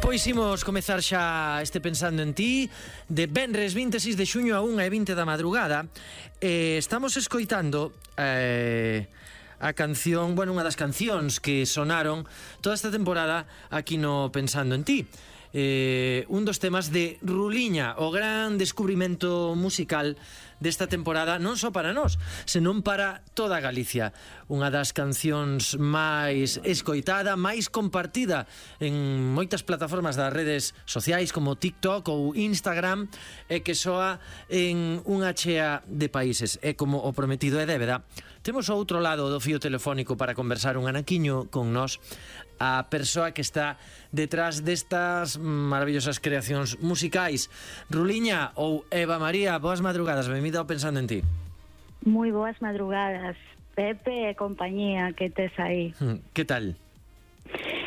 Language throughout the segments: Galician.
Pois imos comezar xa este Pensando en Ti de venres 26 de xuño a 1:20 da madrugada. Estamos escoitando a canción, bueno, unha das cancións que sonaron toda esta temporada aquí no Pensando en Ti. Un dos temas de Ruliña, o gran descubrimento musical desta temporada, non só para nós, senón para toda Galicia. Unha das cancións máis escoitada, máis compartida en moitas plataformas das redes sociais como TikTok ou Instagram, e que soa en unha chea de países. E como o prometido é débeda, temos ao outro lado do fío telefónico para conversar un anaquiño con nós a persoa que está detrás destas maravillosas creacións musicais. Ruliña ou Eva María, boas madrugadas, benvida ao Pensando en Ti. Moi boas madrugadas, Pepe e compañía, que tes aí? Que tal?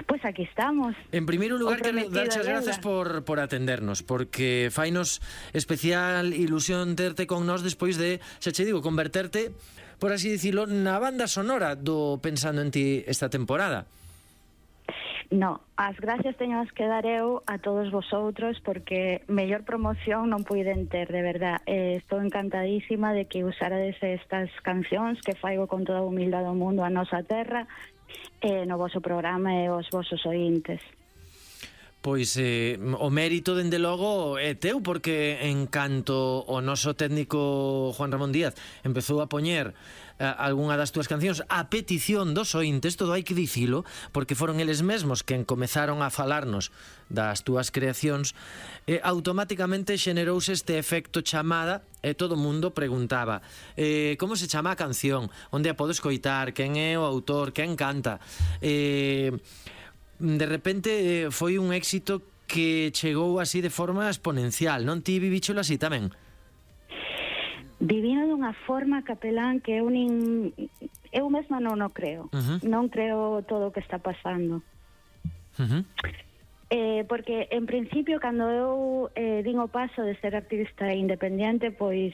Pois aquí estamos. En primeiro lugar, quero darche as grazas por atendernos, porque fainos especial ilusión terte con nós despois de, xa che digo, converterte, por así dicilo, na banda sonora do Pensando en Ti esta temporada. No, as gracias teño que dar eu a todos vosotros, porque mellor promoción non puiden ter, de verdad. Estou encantadísima de que usarades estas cancións que faigo con toda a humildade do mundo a nosa terra no voso programa e os vosos ointes. Pois o mérito, dende logo, é teu, porque en canto o noso técnico Juan Ramón Díaz empezou a poñer algunha das túas cancións a petición dos ointes, todo hai que dicilo, porque foron eles mesmos quen comezaron a falarnos das túas creacións, automáticamente xenerouse este efecto chamada e todo o mundo preguntaba como se chama a canción, onde a podo escoitar, quen é o autor, quen canta. De repente foi un éxito que chegou así de forma exponencial, non? Ti vivíchelo así tamén? Vivino dunha forma, capelán, que eu mesma non o creo. Non creo todo o que está pasando. Porque, en principio, cando eu din o paso de ser activista independiente, pois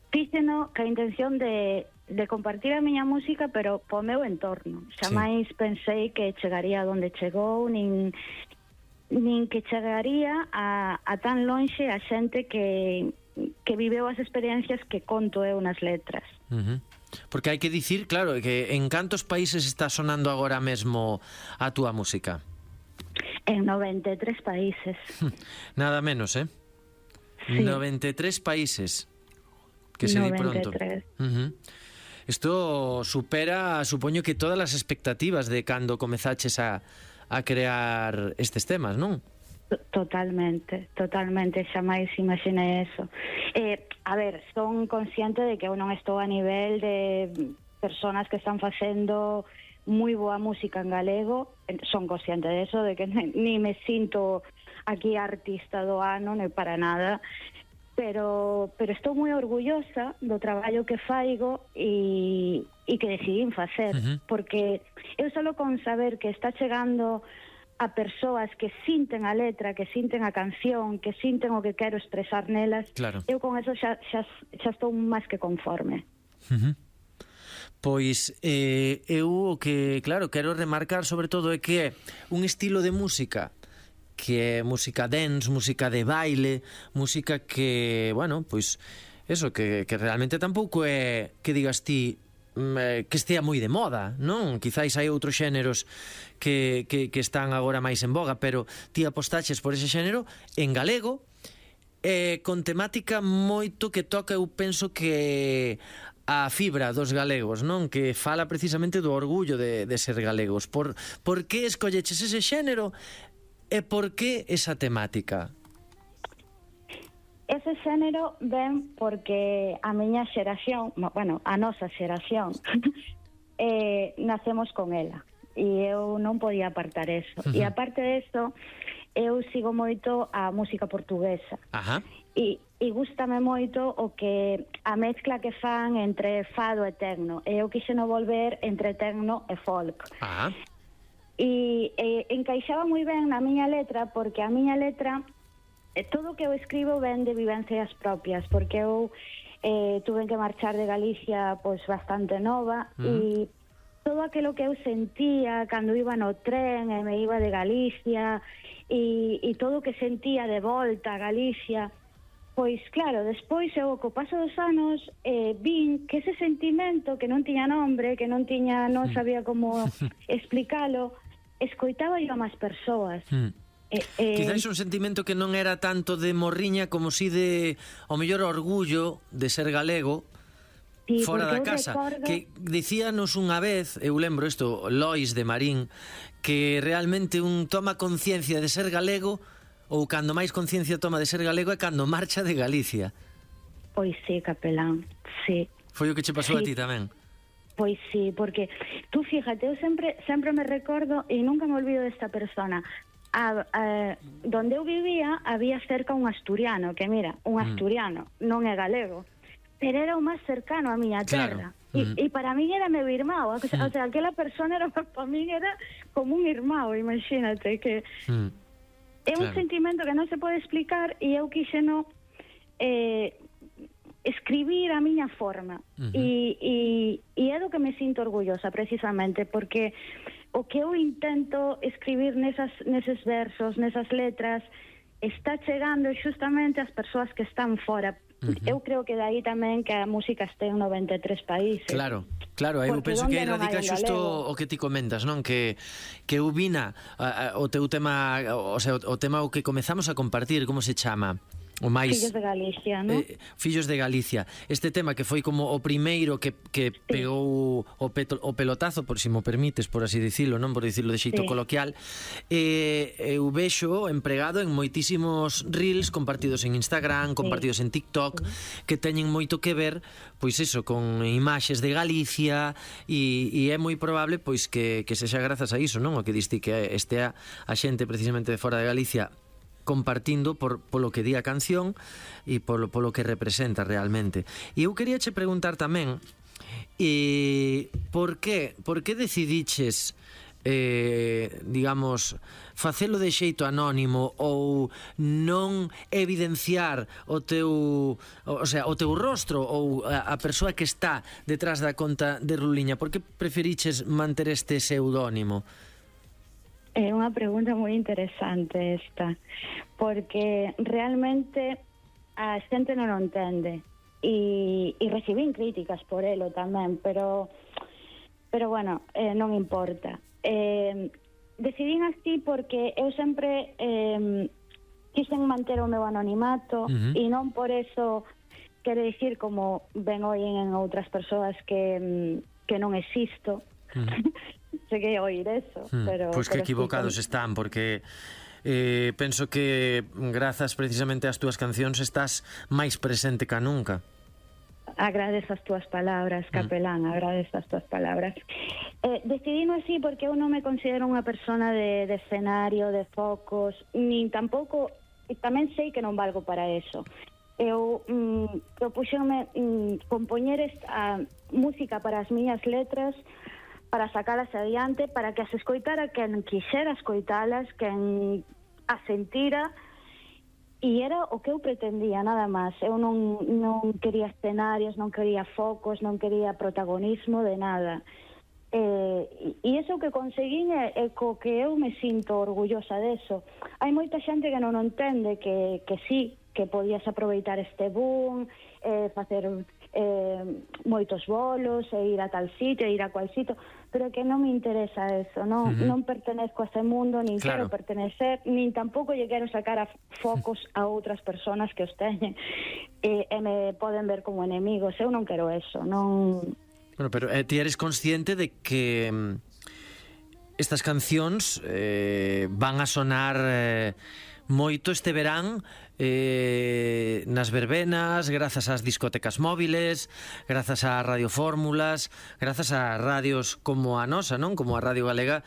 fíxeno ca intención de compartir a miña música, pero po meu entorno. Xamais pensei que chegaría onde chegou, nin que chegaría a tan lonxe a xente que viveu as experiencias que conto eu nas letras. Porque hai que dicir, claro, que en cantos países está sonando agora mesmo a túa música? En 93 países. Nada menos, Sí. 93 países. Que se di pronto. Isto supera, supoño, que todas as expectativas de cando comezaches a crear estes temas, non? Totalmente, xamais imaginei eso. A ver, son consciente de que eu non estou a nivel de personas que están facendo moi boa música en galego. Son consciente de eso, de que ni me sinto aquí artista do ano, nem para nada. Pero estou moi orgullosa do traballo que faigo e que decidín facer, porque eu solo con saber que está chegando a persoas que sinten a letra, que sinten a canción, que sinten o que quero expresar nelas, claro. Eu con eso xa estou máis que conforme. Pois eu o que, claro, quero remarcar sobre todo é que é un estilo de música que é música dance, música de baile, música que, bueno, pois eso, que realmente tampouco é que digas ti que estea moi de moda, non? Quizáis hai outros xéneros que están agora máis en boga, pero ti apostaches por ese xénero en galego, con temática moito que toca, eu penso que a fibra dos galegos, non? Que fala precisamente do orgullo de ser galegos. Por que escolleches ese xénero? E por que esa temática? Ese xénero ven porque a miña xeración, bueno, a nosa xeración, nacemos con ela. E eu non podía apartar eso. E aparte de eso, eu sigo moito a música portuguesa. E gústame moito o que a mezcla que fan entre fado e tecno. E eu quixeno volver entre tecno e folk. E encaixaba moi ben na miña letra, porque a miña letra, todo o que eu escribo ven de vivencias propias, porque eu tuve que marchar de Galicia pois bastante nova, e todo aquilo que eu sentía cando iba no tren e me iba de Galicia e todo o que sentía de volta a Galicia, pois claro, despois eu co paso dos anos vin que ese sentimento que non tiña nombre, que non sabía como explicalo, escoitaba yo a máis persoas. Quizás un sentimento que non era tanto de morriña como si de, ao mellor, orgullo de ser galego, sí, fora da casa, que dicíanos unha vez, eu lembro isto, Lois de Marín, que realmente un toma conciencia de ser galego, ou cando máis conciencia toma de ser galego é cando marcha de Galicia. Pois sí, capelán, sí. Foi o que che pasou a ti tamén? Pois sí, porque tú fíjate, eu sempre me recordo e nunca me olvido desta persona. Donde eu vivía había cerca un asturiano, que mira, un asturiano non é galego, pero era o máis cercano a miña terra. E para mí era meu irmão, o sea, aquela persona era, para mí era como un irmão, imagínate, que é un sentimento que non se pode explicar e eu quixeno escribir a miña forma e é do que me sinto orgullosa precisamente, porque o que eu intento escribir neses versos, nesas letras, está chegando justamente ás persoas que están fora. Eu creo que dai tamén que a música este en 93 países. Claro, eu penso que aí radica xusto o que ti comentas, non? Que eu vina o teu tema, o sea, o tema o que comezamos a compartir, como se chama? O máis Fillos de Galicia, non? Fillos de Galicia. Este tema que foi como o primeiro que pegou o pelotazo, por si mo permites, por así dicilo, non? Por dicilo de xeito coloquial. Eu vexo empregado en moitísimos reels compartidos en Instagram, compartidos en TikTok, que teñen moito que ver, pois eso, con imaxes de Galicia, e é moi probable pois que sexa grazas a iso, non? O que diste que estea a xente precisamente de fora de Galicia compartindo polo que di a canción e polo que representa realmente. E eu quería che preguntar tamén por que decidiches digamos, facelo de xeito anónimo ou non evidenciar o teu rostro ou a persoa que está detrás da conta de Ruliña? Por que preferiches manter este pseudónimo? É unha pregunta moi interesante esta, porque realmente a xente non o entende e recibín críticas por elo tamén, pero bueno, non importa. Decidín así porque eu sempre quixen manter o meu anonimato e non por eso quero dicir, como ben oín en outras persoas, que non existo. Cheguei a oír eso, pero... Pois que equivocados están, porque penso que grazas precisamente ás túas cancións estás máis presente ca nunca. Agradezo as túas palabras, capelán, agradezo as túas palabras. Decidino así porque eu non me considero unha persona de escenario, de focos, nin tampouco, tamén sei que non valgo para eso. Eu propuxenme compoñer esta música para as miñas letras, para sacalas adiante, para que as escoitara quen quixera escoitalas, quen as sentira, e era o que eu pretendía, nada máis. Eu non quería escenarios, non quería focos, non quería protagonismo de nada. E iso que conseguín é co que eu me sinto orgullosa deso. Hai moita xente que non entende que sí, que podías aproveitar este boom, facer moitos bolos e ir a tal sitio, ir a cual sitio, pero que non me interesa eso, non pertenezco a ese mundo, nin quero pertenecer, nin tampouco lle quero sacar a focos a outras persoas que os teñen e me poden ver como enemigos. Eu non quero eso, non... Bueno, pero ti eres consciente de que estas cancións van a sonar moito este verán nas verbenas, grazas ás discotecas móviles, grazas ás radiofórmulas, grazas a radios como a nosa, non? Como a Radio Galega,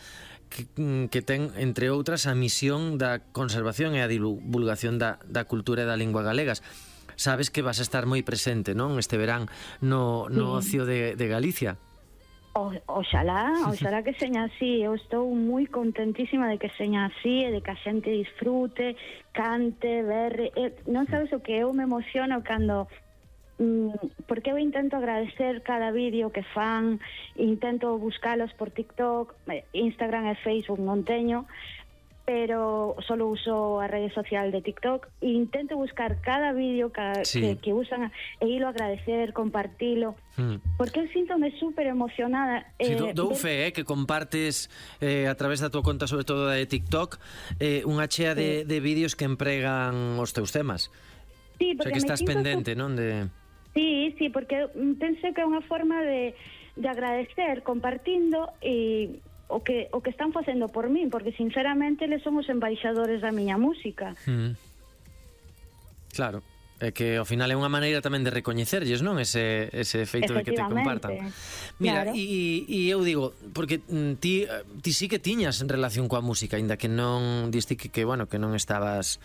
que ten, entre outras, a misión da conservación e a divulgación da cultura e da lingua galegas. Sabes que vas a estar moi presente, non? Este verán no ocio de Galicia. Oxalá que seña así. Eu estou moi contentísima de que seña así e de que a xente disfrute, cante, berre. Non sabes o que eu me emociono cando porque eu intento agradecer cada vídeo que fan, intento buscalos por TikTok, Instagram e Facebook non teño, pero solo uso a rede social de TikTok e intento buscar cada vídeo que usan e ilo agradecer, compartilo, porque eu síntome super emocionada. Dou fe, que compartes a través da tua conta, sobre todo de TikTok, unha chea de vídeos que empregan os teus temas. Sí, porque o sea, que estás pendente, non? Sí, porque penso que é unha forma de agradecer compartindo e o que están facendo por min, porque sinceramente eles son os embaixadores da miña música. Claro, é que ao final é unha maneira tamén de recoñecerlles, non? Ese feito de que te compartan. Mira, claro. E eu digo, porque ti sí que tiñas en relación coa música, aínda que non diste que bueno, que non estabas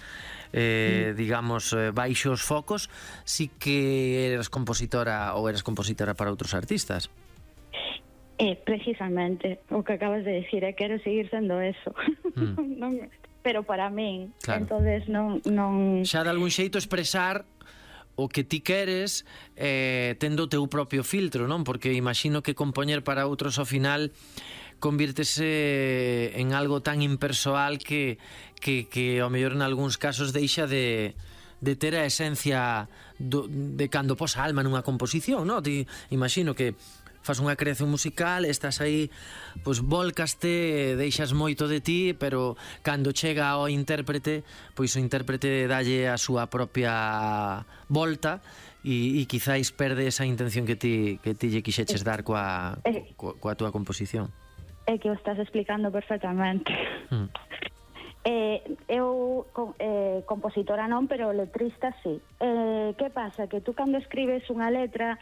digamos, baixo os focos, sí que eras compositora para outros artistas. Precisamente o que acabas de decir, quero seguir sendo eso. Non, pero para min, claro. Entonces non xa de algún xeito expresar o que ti queres tendo o teu propio filtro, non? Porque imagino que compoñer para outros ao final convírtese en algo tan impersoal que ao mellor en algúns casos deixa de ter a esencia de cando posa alma nunha composición, non? Ti imagino que fas unha creación musical, estás aí, pois volcaste, deixas moito de ti, pero cando chega ao intérprete, pois o intérprete dalle a súa propia volta e quizáis perde esa intención que ti lle quixeches dar coa túa composición. É que o estás explicando perfectamente. Eu compositora non, pero letrista sí. Que pasa? Que tú cando escribes unha letra,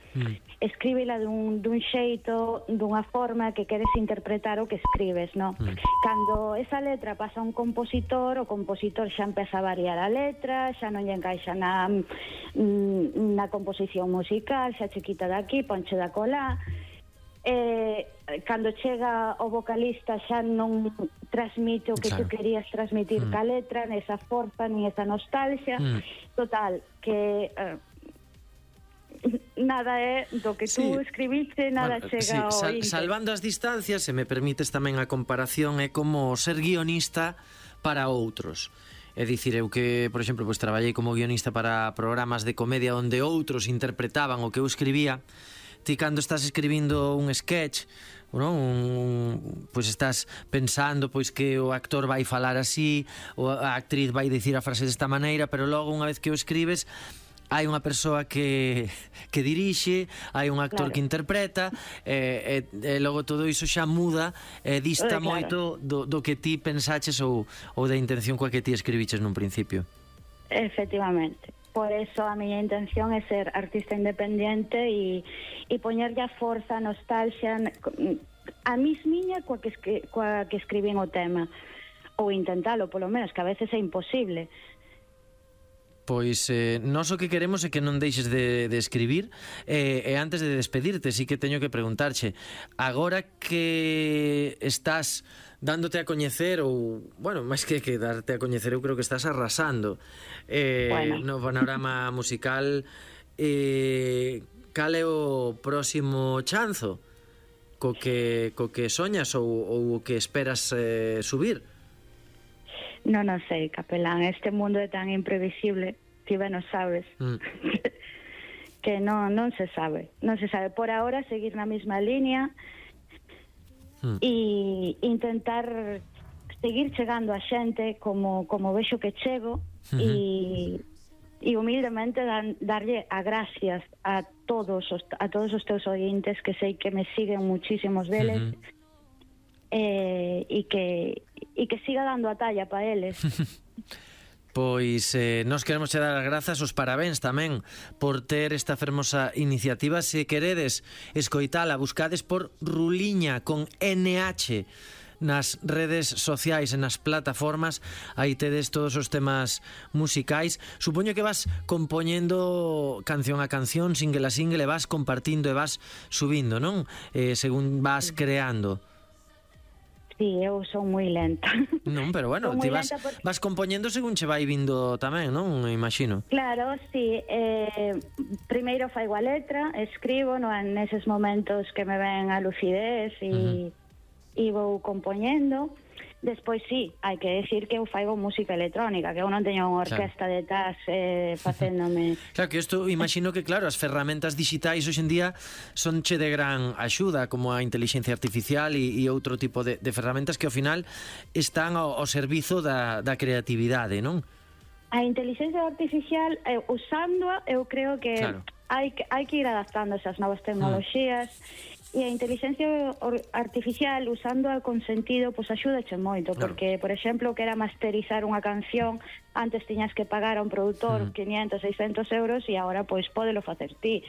escríbela dun xeito, dunha forma que queres interpretar o que escribes, non? Cando esa letra pasa a un compositor, o compositor xa empeza a variar a letra, xa non lle encaixa na composición musical, xa che quita daqui, ponche da colá. Cando chega o vocalista xa non transmite o que tú querías transmitir ca letra, nesa forza, ni esa nostalgia. Total, que nada é do que tú escribiste, nada chega ao ínter. Salvando as distancias, se me permites tamén a comparación, é como ser guionista para outros. É dicir, eu que, por exemplo, pois traballei como guionista para programas de comedia onde outros interpretaban o que eu escribía. Ti cando estás escribindo un sketch, non? Pois estás pensando pois que o actor vai falar así, ou a actriz vai dicir a frase desta maneira, pero logo unha vez que o escribes hai unha persoa que dirixe, hai un actor que interpreta, e logo todo iso xa muda e dista moito do que ti pensaches ou da intención coa que ti escribiches nun principio. Efectivamente. Por eso a miña intención é ser artista independiente e poñerlle a forza, a nostalgia a miña coa que escribín o tema, ou intentalo polo menos, que a veces é imposible. Pois nós o que queremos é que non deixes de escribir, e antes de despedirte sí que teño que preguntarche, agora que estás dándote a coñecer, ou, bueno, máis que darte a coñecer, eu creo que estás arrasando no panorama musical, cal é o próximo chanzo co que soñas ou o que esperas subir? Non sei, capelán, este mundo é tan imprevisible, ti ben o sabes, que non se sabe. Non se sabe. Por ahora, seguir na mesma línea e intentar seguir chegando a xente como vexo que chego e humildemente darlle a gracias a todos os teus ointes, que sei que me siguen muchísimos deles, e que siga dando a talla para eles. Pois nos queremos che dar as grazas, os parabéns tamén por ter esta fermosa iniciativa. Se queredes escoitala, buscades por Ruliña con NH nas redes sociais e nas plataformas, aí tedes todos os temas musicais. Supoño que vas compoñendo canción a canción, single a single, e vas compartindo e vas subindo, non? Según vas creando. Sí, eu son moi lenta. Non, pero bueno, Son ti moi lenta vas compoñendo según che vai vindo tamén, non? Imagino. Claro, sí. Primeiro faigo a letra, escribo neses momentos que me ven a lucidez e vou compoñendo. Despois, sí, hai que decir que eu faigo música electrónica, que eu non teño unha orquesta detrás facéndome... Claro, que isto imagino que, claro, as ferramentas digitais hoxe en día son che de gran axuda, como a inteligencia artificial e outro tipo de ferramentas que ao final están ao servizo da creatividade, non? A inteligencia artificial, usándoa, eu creo que hai que ir adaptando esas novas tecnoloxías. E a inteligencia artificial, usándoa con sentido, pois axúdache moito, porque, por exemplo, que era masterizar unha canción, antes tiñas que pagar a un produtor 500, 600 euros e agora, pois, pódelo facer ti.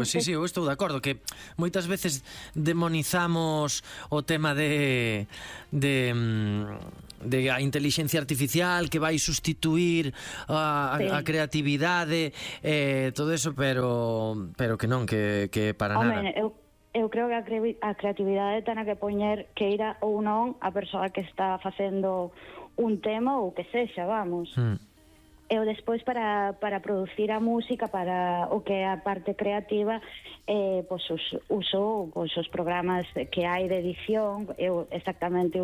Sí, eu estou de acordo que moitas veces demonizamos o tema de a inteligencia artificial que vai sustituir a creatividade, todo eso, pero que non, que para nada. Eu creo que a creatividade ten que poñer que ir ou non a persoa que está facendo un tema ou que sexa, vamos. Eu despois para producir a música, para o que é a parte creativa, uso os programas que hai de edición. Eu exactamente